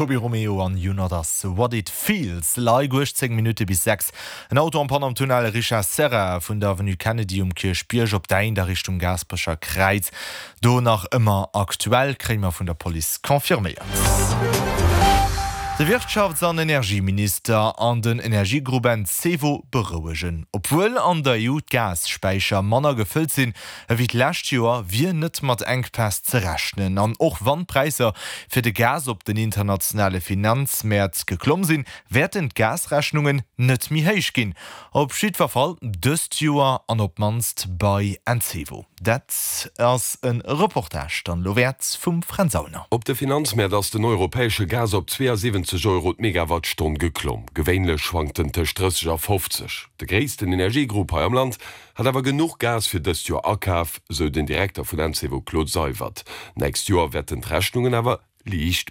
Tobi Romeo an You Not Us, What It Feels Like. 18 Minutte bis 6. En Auto en panne am Tunnel Richard Serra vun der Avenue Kennedy um Kierchbierg op d'Eint a Richtung Gaasperecher Kräiz. Do nach ëmmer aktuell, kréie mer vun der Police confirméiert. De Wirtschafts an Energieminister an den Energiegrupp Encevo berouegen. Obwuel an der EU d'Gasspäicher manner gefëllt sinn ewéi d'lescht Joer, wier net mat Enkpäss ze rechnen. An och wann d'Präisser fir de Gas op den internationale Finanzmäert geklomm sinn, wäerten d'Gasrechnungen net méi héich ginn. Op jiddwer Fall dëst Joer an op d'mannst bei Encevo. Dat ass e Reportage dann elo wäert vum Fränz Aulner. Op de Finanzmäert ass den europäesche Gas op 72 Euro d'Megawattstonn geklomm. Gewéinlech schwankt en tëscht 30 a 50. De gréissten Energiegrupp hei am Land hat awer genuch Gas fir dëst Joer akaf, sou den Direkter vun Encevo Claude Seywert. Nächst Joer wäerten d'Rechnungen awer liicht méi.